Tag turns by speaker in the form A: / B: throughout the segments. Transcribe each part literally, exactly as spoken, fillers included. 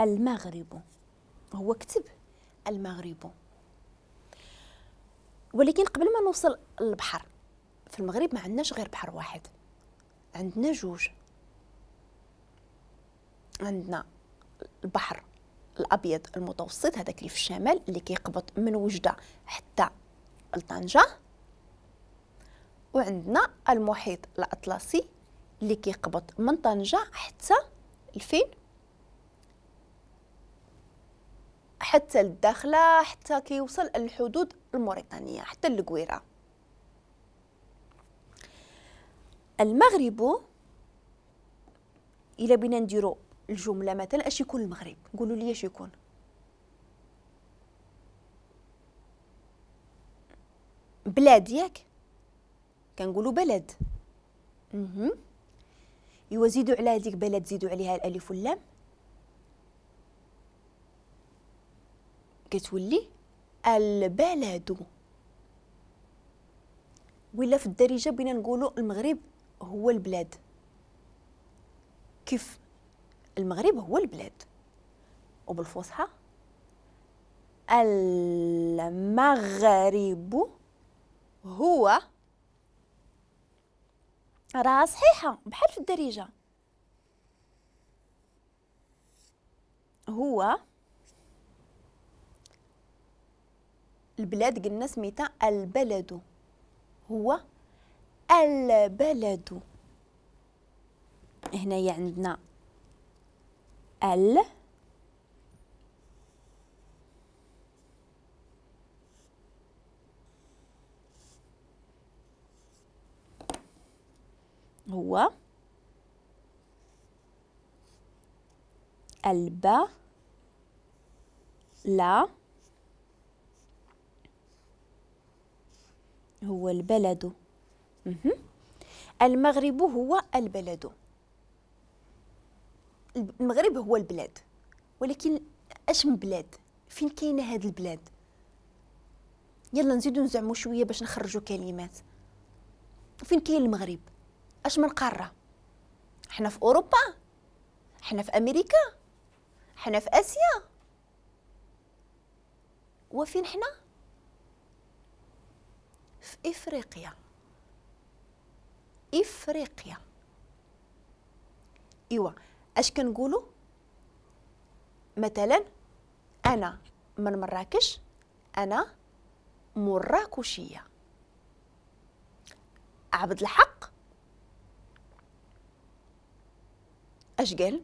A: المغرب. هو كتب المغرب، ولكن قبل ما نوصل للبحر في المغرب ما عندناش غير بحر واحد، عندنا جوج. عندنا البحر الابيض المتوسط هذاك اللي في الشمال اللي كيقبط من وجده حتى لطنجه، وعندنا المحيط الاطلسي اللي كيقبط من طنجه حتى لفين؟ حتى للداخله، حتى كيوصل الحدود الموريتانيه حتى للقويره. المغرب الا بينا نديرو الجملة مثلا اش يكون المغرب؟ قولوا لي اش يكون؟ بلاد، ياك كنقولوا بلد. اها ايوا زيدوا على هذيك بلد زيدوا عليها الالف واللام كتولي البلد. ولا في الدارجة بينا نقولوا المغرب هو البلاد. كيف المغرب هو البلاد؟ وبالفصحى المغرب هو، راه صحيحه بحال في الدارجة، هو البلاد، قلنا سميتها البلد، هو البلد. هنايا عندنا ال هو الب لا هو البلد. المغرب هو البلد، المغرب هو البلاد، ولكن اش من بلاد؟ فين كاينه هاد البلاد؟ يلا نزيدو نزعمو شوية باش نخرجوا كلمات. فين كاين المغرب؟ اش من قارة؟ حنا في اوروبا؟ حنا في امريكا؟ حنا في اسيا؟ وفين حنا؟ في افريقيا. افريقيا. ايوا اش كنقولوا؟ مثلا انا من مراكش، انا مراكشيه. عبد الحق اش قال؟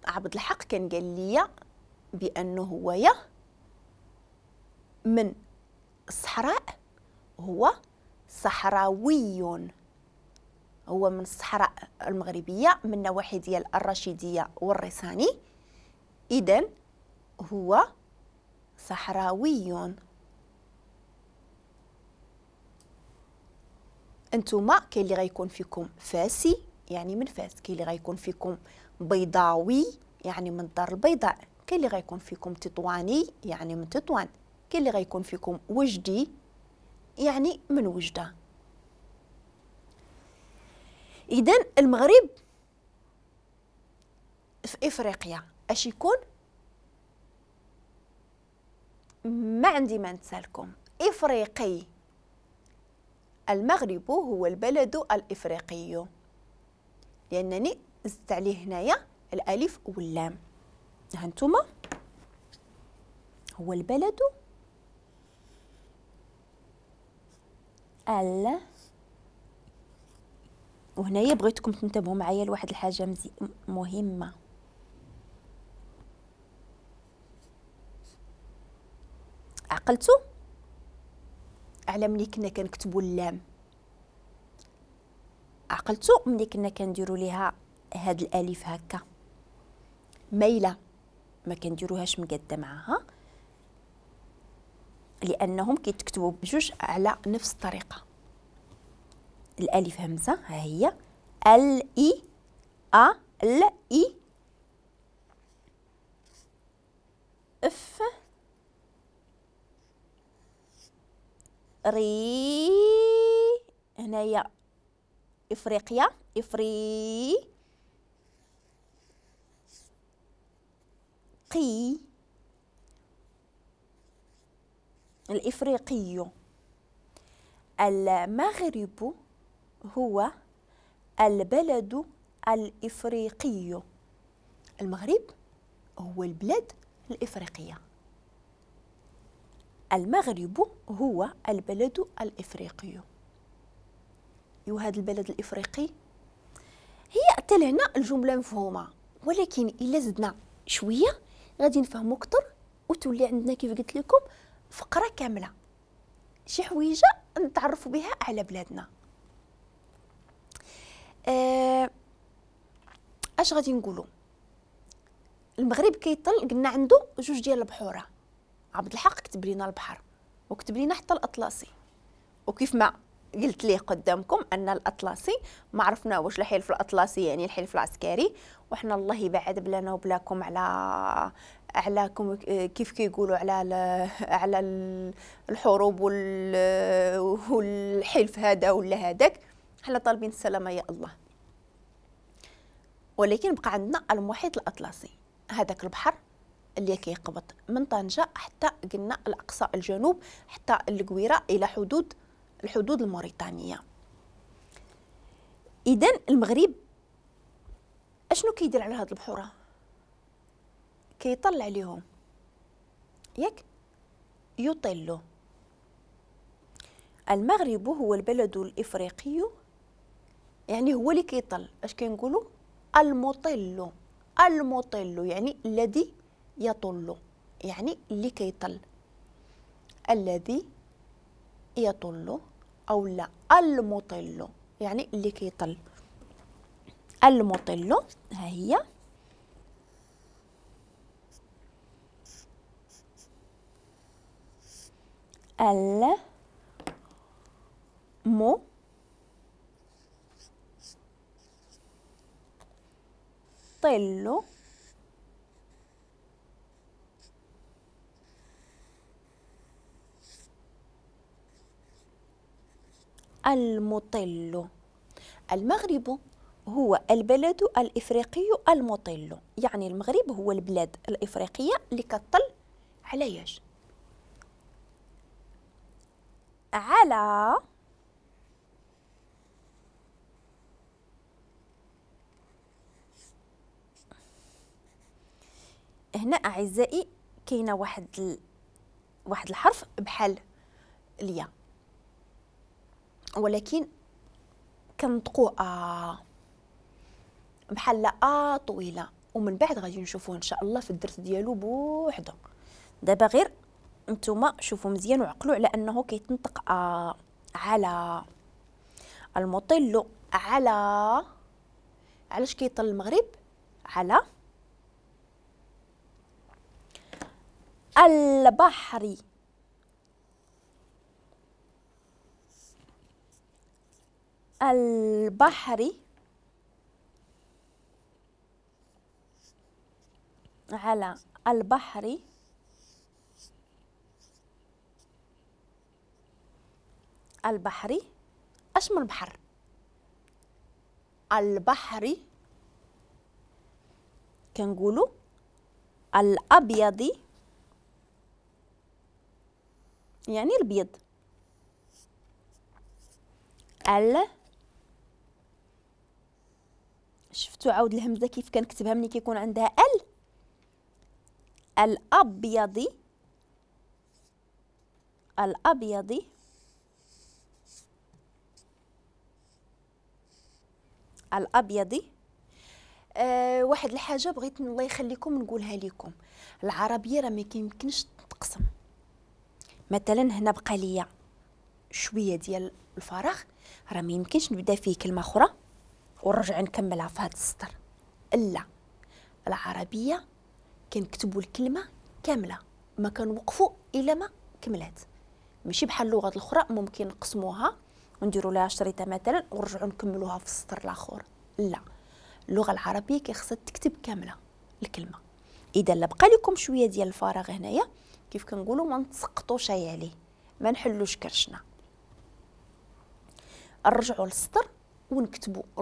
A: عبد الحق كان قال لي بانه هو يا من الصحراء، هو صحراوي، هو من الصحراء المغربية من نواحي ديال الرشيديه والريساني، اذا هو صحراوي. انتوما كاين اللي غيكون فيكم فاسي يعني من فاس، كاين اللي غيكون فيكم بيضاوي يعني من الدار البيضاء، كاين اللي غيكون فيكم تطواني يعني من تطوان، كاين اللي غيكون فيكم وجدي يعني من وجده. اذا المغرب في افريقيا اش يكون؟ ما عندي ما نتسالكم، افريقي. المغرب هو البلد الافريقي، لانني زدت عليه هنايا الالف واللام. ها انتما هو البلد ال، وهنايا بغيتكم تنتبهوا معايا لواحد الحاجة مهمة. عقلتوا على ملي كنا كنكتبوا اللام؟ عقلتوا ملي كنا كنديروا ليها هاد الالف هكا مايلة، ما كنديروهاش مقاده معاها لانهم كيتكتبوا بجوج على نفس الطريقة. الالف همزه ها هي ال اي ا ل اي اف ري، هنايا افريقيا افري الإفريقي الإفريقي. المغرب هو البلد الإفريقي. المغرب هو البلد الإفريقية. المغرب هو البلد الإفريقي. وهذا البلد الإفريقي هي حتى لهنا الجملة مفهومة، ولكن إلا زدنا شوية غادي نفهمو أكثر وتولي عندنا كيف قلت لكم فقرة كاملة، شي حويجة نتعرفوا بها على بلادنا. أه اش غادي نقولوا؟ المغرب كيطل، قلنا عنده جوج ديال البحوره. عبد الحق كتب لنا البحر وكتب لنا حتى الاطلسي، وكيف ما قلت ليه قدامكم ان الاطلسي ما عرفنا واش الحلف الاطلسي يعني الحلف العسكري، وحنا الله يبعد بلانا وبلاكم على على كيف كيقولوا على على الحروب والحلف هذا ولا هذاك، حنا طالبين السلامة يا الله. ولكن بقى عندنا المحيط الاطلسي، هذاك البحر اللي كيقبط من طنجة حتى قلنا الأقصى الجنوب حتى القويرة إلى حدود الحدود الموريتانية. إذن المغرب أشنو كيدير على هاد البحورة؟ كيطل عليهم، ياك؟ يطل. المغرب هو البلد الإفريقي، يعني هو اللي كيطل. اش كنقولوا؟ المطل. المطل يعني الذي يطل، يعني اللي كيطل، الذي يطل أو لا المطل يعني اللي كيطل. المطل ها هي. المو طل المطل. المغرب هو البلد الإفريقي المطل، يعني المغرب هو البلاد الإفريقية اللي كتطل على ياش؟ على هنا أعزائي كاينة واحد ال... واحد الحرف بحال اليا، ولكن كنطقوه آ بحال آ طويلة، ومن بعد غادي نشوفوه إن شاء الله في الدرس ديالو بوحدو. دابا غير نتوما شوفوا مزيان وعقلوا على أنه كيتنطق آ. على المطل على، علاش كيطل المغرب؟ على البحر. البحر على البحر البحر. اش من البحر؟ البحر كنقولوا الابيض يعني البيض، ال شفتوا عاود الهمزة كيف كنكتبها ملي كيكون عندها ال، الابيض الابيض الابيض. أه واحد الحاجة بغيت الله يخليكم نقولها لكم، العربية راه ما كيمكنش تقسم. مثلا هنا بقى ليا شوية ديال الفراغ، راه ما يمكنش نبدا فيه كلمة اخرى ونرجع نكملها في هذا السطر. لا، العربية كنكتبوا الكلمة كاملة، ما كنوقفوا الا ما كملات. ماشي بحال اللغات الاخرى ممكن نقسموها ونديروا لها شريطه مثلا ونرجعوا نكملوها في السطر الاخر. لا، اللغة العربية كيخصها تكتب كاملة الكلمة. اذا لا بقى لكم شوية ديال الفراغ هنايا كيف كنقولوا ما نتسقطوش عليه، ما نحلوش كرشنا، نرجعوا للسطر ونكتبوا